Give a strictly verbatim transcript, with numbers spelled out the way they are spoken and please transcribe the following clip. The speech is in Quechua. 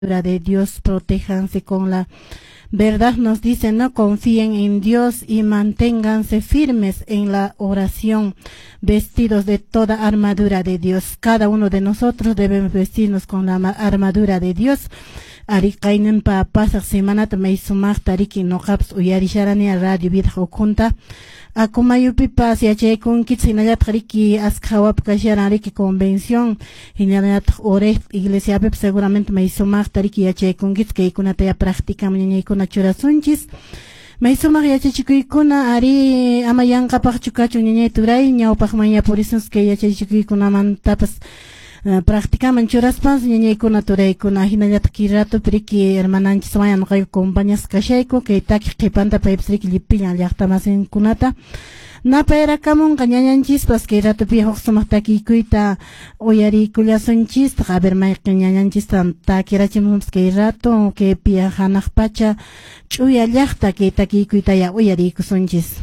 De Dios, protéjanse con la verdad, nos dice, no confíen en Dios y manténganse firmes en la oración, vestidos de toda armadura de Dios. Cada uno de nosotros debemos vestirnos con la armadura de Dios. Ari kayninpa pasaq semanata may sumaqta riki noqapas uyarisharani Radio Vida ukhunta Acomayupipas yachaykunkichis hinallataq riki askha hawapi kasharan riki convención hinallataq Oreb iglesiapipas seguramente may sumaqta riki yachaykunkichis kaykunata ya practicaman ñañaykuna churasunchis may sumaq yachachikuykuna ari ama yanqapaqchu kachun ñañay turay ñawpaqman yapurisunchis kay yachachikuykunamantapas practicaman churaspas ñañaykuna turaykuna hinallataq kay ratupi riki hermananchiswan noqayku compañasqa kashayku kay takiq qhipanta paypas riki llipillan llaqtamasinkunata napayarakamunqa ñañanchispas kay ratupi huk sumaq takiykuyta uyariykullasunchistaq a ver mayqin ñañanchista takirachimunpas kay rato kaypi hanaq pacha ch'uya llaqta kay takiykuyta ya uyariykusunchis.